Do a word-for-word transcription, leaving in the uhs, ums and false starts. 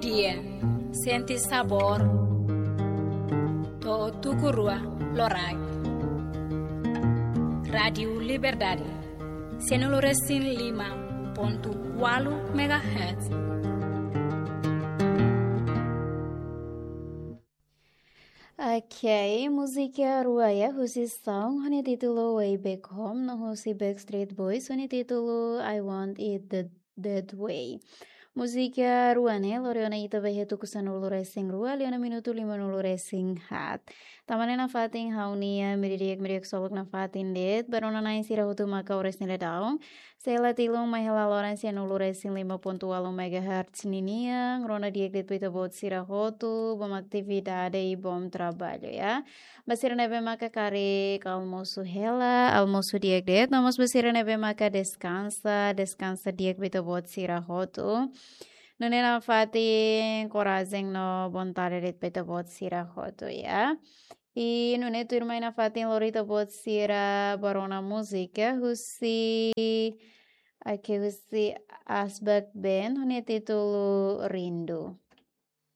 Dia, sente sabór. To'o tuku rua loraik. Rádiu Liberdade, sianulu resin lima pontu ualu megahertz. Ok, múzika rua ya, husi Sound, ho nia títulu Way Back Home, no husi Backstreet Boys, ho nia títulu I Want It That, That Way. Múzika rua ne'e lori ona ita ba iha tuku sanulu resin rua, liu ona minutu limanulu resin haat. Tanba ne'e nafatin ha'u-nia miri di'ak, miri di'ak ksolok nafatin de'it, ba rona-na'in sira hotu maka oras ne'e daudaun sei la tilun mai hela loron sianulu resin lima pontu ualu megahertz ninian, rona di'ak de'it ba ita-boot sira hotu, bom atividade i bom traballu, ya. Ba sira ne'ebé maka karik almosu hela, almosu di'ak de'it, no mós ba sira ne'ebé maka deskansa, deskansa di'ak ba ita-boot sira hotu. Nune'e nafatin korajen no vontade de'it ba ita-boot sira hotu, ya. I nune'e tuirmai nafatin lori ita-boot sira ba rona múzika husi, ake husi Asbak Band, ho nia títulu Rindu.